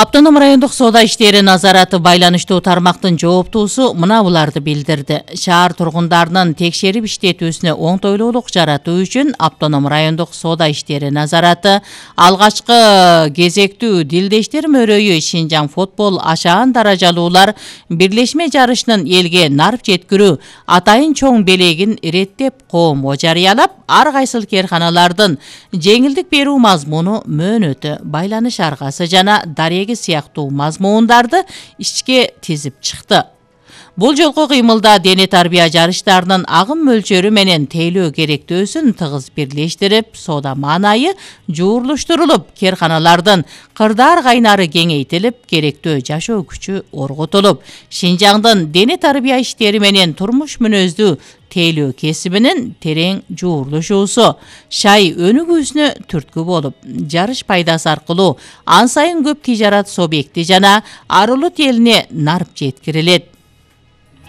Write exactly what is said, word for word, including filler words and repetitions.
Автоном райондук соода иштери назараты байланыштуу тармактын жооптуусу мына буларды билдирди. Шаар тургундарынын текшерип иштетүүсүнө оңтойлуулук жаратуу үчүн автоном райондук соода иштери назараты алгачкы кезектүү дилдештер мөрөйү Шинжаң футбол ашаан даражалуулар бирлешме жарышынын элге нарп жеткирүү атайын чоң белегин иреттеп коомго жарыялап, ар кайсыл керканалардын жеңилдик берүү мазмуну, мөөнөтү, байланыш аргасы жана дареги сыяктуу мазмундарды ишке тизип чыкты. Бул жолку кыймылда дене тарбия жарыштарынын агым мөлчөрү менен тейлөө керектөөсүн тыгыз бирлештирип, соода маанайы жуурлуштурулуп, керканалардын кырдаар кайнары кеңейтилип, керектөө жашоо күчү орготулуп, Шинжаңдын дене тарбия иштери менен турмуш мүнөздүү тейлөө кесибинин терең жуурлушуусу шай өнүгүүсүнө түрткү болуп, жарыш пайдасы аркылуу ан сайын көп тижарат субъекти жана арулут элине нарп жеткирилет.